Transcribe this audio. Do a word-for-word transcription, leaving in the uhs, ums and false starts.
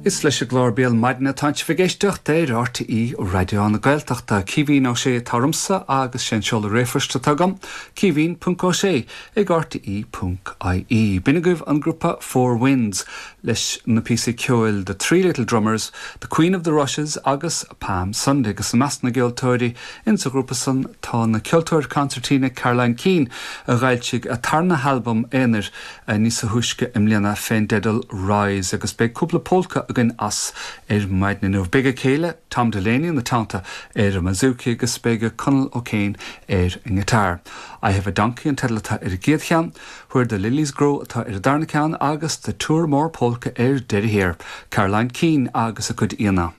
Is leis an gclár Béal Maidine atá sibh ag éisteacht ar R T É Raidió na Gaeltachta. Caoimhín Ó Sé atá ormsa agus sé an seoladh ríomhphoist atá agam, caoimhín ponc ó sé ag R T E ponc I E. B'in agaibh an grúpa Four Winds leis na píosaí ceoil The Three Little Drummers, The Queen of the Rushes agus Palm Sunday. Agus i measc na gceoltóirí in sa ghrúpa san tá na ceoltóir concertina Caroline Keane, a d'fhoilsigh a tarna halbam aonair níos túisce i mbliana fén dteideal Rise, agus beidh cúpla polca againn as ar maidin inniu. Beidh a céile Tom Delaney ina teannta ar an mbouzouki agus beidh Conall O'Kane ar an ngiotár. I Have a Donkey an teideal atá ar an gcéad cheann, Where the Lilies Grow atá ar an darna ceann agus the Toormore Polka ar deireadh thiar. Caroline Keane agus a cuid aíonna.